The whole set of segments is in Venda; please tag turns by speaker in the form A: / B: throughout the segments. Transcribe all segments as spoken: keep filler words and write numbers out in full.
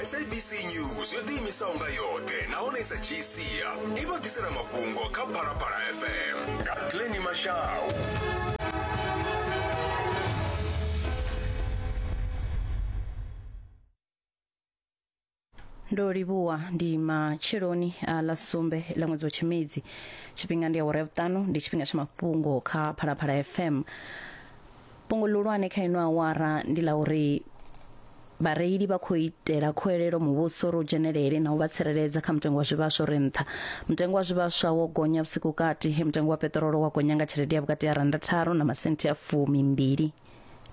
A: S A B C News yo ḓiimisaho nga yoṱhe nahone i sa dzhii sia i vha ḓisela mafhungo kha Phalaphala F M nga Glenny Mashau.
B: Ndo livhuwa. Ndi matsheloni a ḽa sumbe ḽa ṅwedzi wa Tshimedzi, tshifhinga ndi awara ya vhuṱanu, ndi tshifhinga tsha mafhungo kha Phalaphala F M. Fhungo ḽihulwane kha ino awara ndi ḽa uri vhareili vha khou itela khuwelelo muvhuso uri u dzhenelele na u vha tsireledza kha mutengo wa zwivhaswa uri nṱha. Mutengo wa zwivhaswa wo gonya vhusiku kati he mutengo wa peṱirolo wa gonya nga tshelede ya vhukati ha randa tharu na masenthi a fumi mbili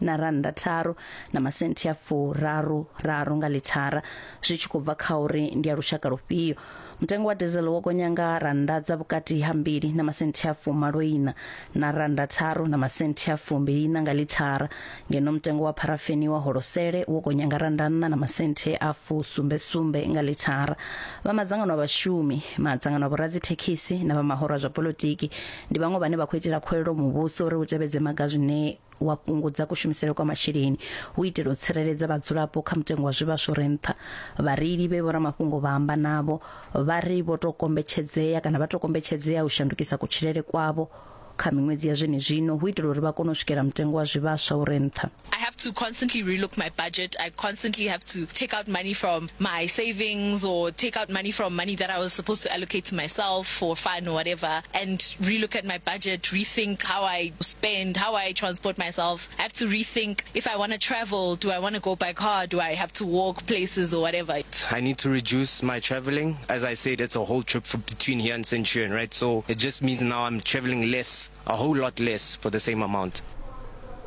B: na randa tharu na masenthi a furaru raru nga ḽithara, zwi tshi khou bva kha uri ndi ya lushaka lufhio. Mutengo wa diesel wo gonya nga randa dza vhukati ha mbili na masenthi a fumalo ina na randa tharu na masenthi a fumbili ina nga ḽithara, ngeno mutengo wa pharafeni wa holosele wo gonya nga randa nṋa na masenthe a fusumbe sumbe nga ḽithara. Vha madzangano a vhashumi, madzangano a vhoradzithekhisi na vha mahoro a zwa polotiki ndi vhaṅwe vhane vha khou itela khuwelelo muvhuso uri u tevhedze maga zwine wa fhungudza kushumisele kwa masheleni hu itela u tsireledza vhadzulapo kha mutengo wa zwivhaswa ure nṱha. Vhareili vhe vhoramafhungo vha amba navho vha ri vho tou kombetshedzea kana vha tou kombetshedzea u shandukisa kutshilele kwavho kha miṅwedzi ya zwenezwino hu itela uri vha kone u swikela mutengo wa zwivhaswa ure nṱha.
C: I have to constantly relook my budget. I constantly have to take out money from my savings or take out money from money that I was supposed to allocate to myself for fun or whatever, and relook at my budget, rethink how I spend, how I transport myself. I have to rethink if I want to travel, do I want to go by car? Do I have to walk places or whatever?
D: I need to reduce my traveling. As I said, it's a whole trip for between here and Centurion, right? So it just means now I'm traveling less, a whole lot less for the same amount.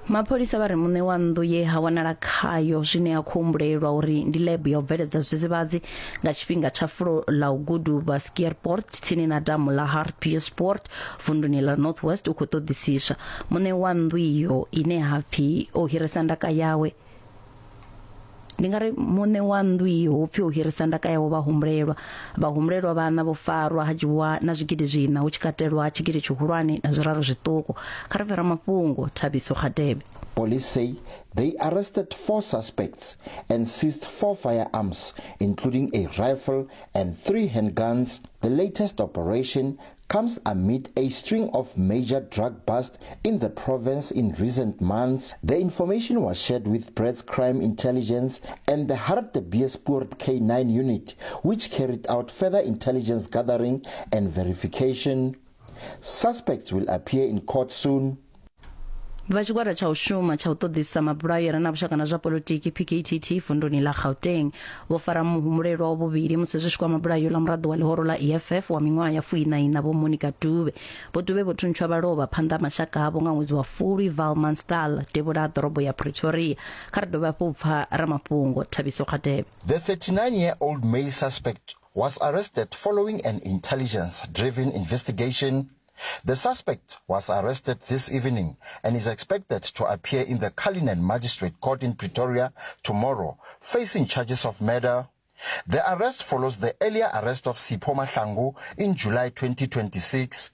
B: Mapholisa vha ri muṋe wa nnḓu ye ha wanala khayo zwine ya khou humbulelwa uri ndi lab ya u bveledza zwidzidzivhadzi nga tshifhinga tsha fulo ḽa u guduba Skeerpoort tsini na damu ḽa Hartbeespoort vunduni ḽa North West u khou ṱoḓisiswa. Muṋe wa nnḓu iyo ine ha pfi o hirisa ndaka yawe, ndi nga ri muṋe wa nnḓu iyo hu pfi o hirisa ndaka yawe vhahumbulelwa. Vhahumbulelwa vhana vho farwa ha dzhiwa na zwigidi zwiṋa, hu tshi katelwa tshigidi tshihulwane na zwiraru zwiṱuku. Kha ri bve ramafhungo Thabiso Khadebe.
E: Police say they arrested four suspects and seized four firearms, including a rifle and three handguns. The latest operation comes amid a string of major drug busts in the province in recent months. The information was shared with Brett's Crime Intelligence and the Hartbeespoort K nine unit, which carried out further intelligence gathering and verification. Suspects will appear in court soon.
B: Vha tshigwada tsha u shuma tsha u ṱoḓisa mabulayo re na vhushaka na zwa polotiki P K T T vunduni ḽa Gauteng vho fara muhumbulelwa wa vhuvhili musi zwi tshi kwama bulayo ḽa muraḓo wa ḽihoro ḽa E F F wa miṅwaha ya fuiṋa Vho Monica Dube. Vho Dube vho thuntshwa vha lovha phanḓa ha mashaka avho nga ṅwedzi wa Fulwi Valmanstal, devhula ha ḓorobo ya Pretoria. Kha ri dovhe hafhu u pfa ramafhungo Thabiso Khadebe.
E: The thirty-nine year old male suspect was arrested following an intelligence driven investigation. The suspect was arrested this evening and is expected to appear in the Cullinan Magistrate Court in Pretoria tomorrow, facing charges of murder. The arrest follows the earlier arrest of Sipho Mahlangu in July twenty twenty-six.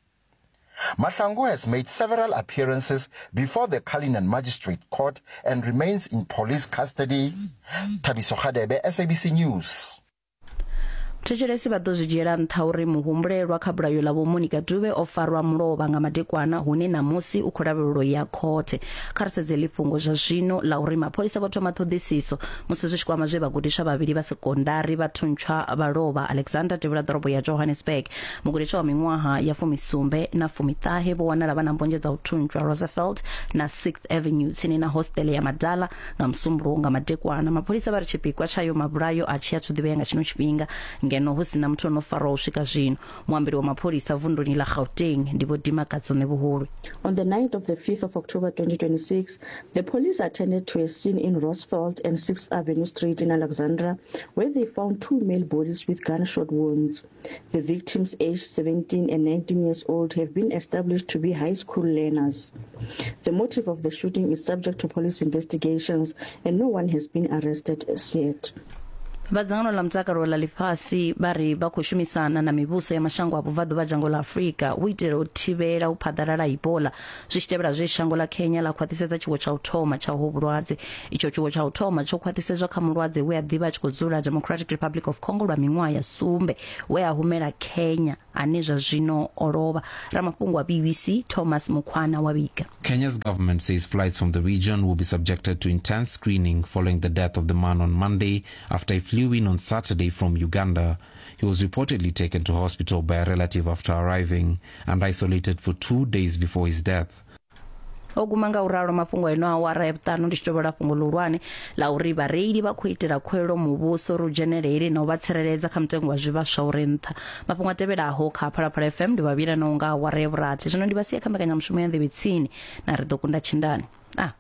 E: Mahlangu has made several appearances before the Cullinan Magistrate Court and remains in police custody. Thabiso Khadebe, S A B C News.
B: Thetshelesi vha ḓo zwi dzhiela nṱha uri muhumbulelwa kha bulayo ḽa Vho Monica Dube o farwa mulovha nga madekwana, hune namusi u khou lavhelelwa ya khothe. Kha ri sedze ḽifhungo zwa zwino ḽa uri mapholisa vho thoma ṱhoḓisiso musi zwi tshi kwama zwe vhagudiswa vhavhili vha sekondari vha thuntshwa vha lovha Alexander, devhula ḓorobo ya Johannesburg. Mugudiswa wa miṅwaha ya fumisumbe na fumiṱahe vho wanala vha na mbonzhe dza u thuntshwa Roosevelt na sixth Avenue tsini na hostele ya Madala nga Musumbuluwo nga madekwana. Mapholisa vha ri tshipikwa tshayo mabulayo a tshi athu ḓivhea nga tshino tshifhinga, ngeno hu sina muthu ono farwaho u swika zwino. Muambeli wa mapholisa vunduni ḽa Gauteng ndi Vho Dimakatso Nevhuhulwi.
F: On the night of the fifth of October twenty twenty-six, the police attended to a scene in Roosevelt and sixth Avenue Street in Alexandra, where they found two male bodies with gunshot wounds. The victims, aged seventeen and nineteen years old, have been established to be high school learners. The motive of the shooting is subject to police investigations, and no one has been arrested as yet.
B: Vha dzangano ḽa mutakalo ḽa ḽifhasi vha ri vha khou shumisana na mivhuso ya mashango a vhubvaḓuvha dzhango ḽa Afrika u itela u thivhela u phaḓalala Ebola, zwi tshi tevhela zwe shango ḽa Kenya ḽa khwaṱhisedza tshiwo tsha u thoma tsha uho vhulwadze. Itsho tshiwo tsha u thoma tsho khwaṱhisedzwa kha mulwadze we a ḓivha a tshi khou dzula Democratic Republic of Congo lwa miṅwaha ya sumbe, we a humela Kenya ane zwa zwino o lovha. Ramafhungo wa B B C Thomas Mukhwana wa vhiga.
G: Kenya's government says flights from the region will be subjected to intense screening following the death of the man on Monday after he flew in on Saturday from Uganda. He was reportedly taken to hospital by a relative after arriving and isolated for two days before his death.
B: O guma nga uralo mafhungo eno awara ya vhuṱanu ndi tshi tovhola fhungo ḽihulwane ḽa uri vhareili vha khou itela khuwelelo muvhuso uri u dzhenelele na u vha tsireledza kha mutengo wa zwivhaswa ure nṱha. Mafhungo a tevhelaho kha Phalaphala F M ndi vhavhila no nga awara ya vhurathi. Zwino ndi vha sia kha mbekanyamushumo ya Nḓevhe Tsini na ri ḓo kunda tshindani. Ah.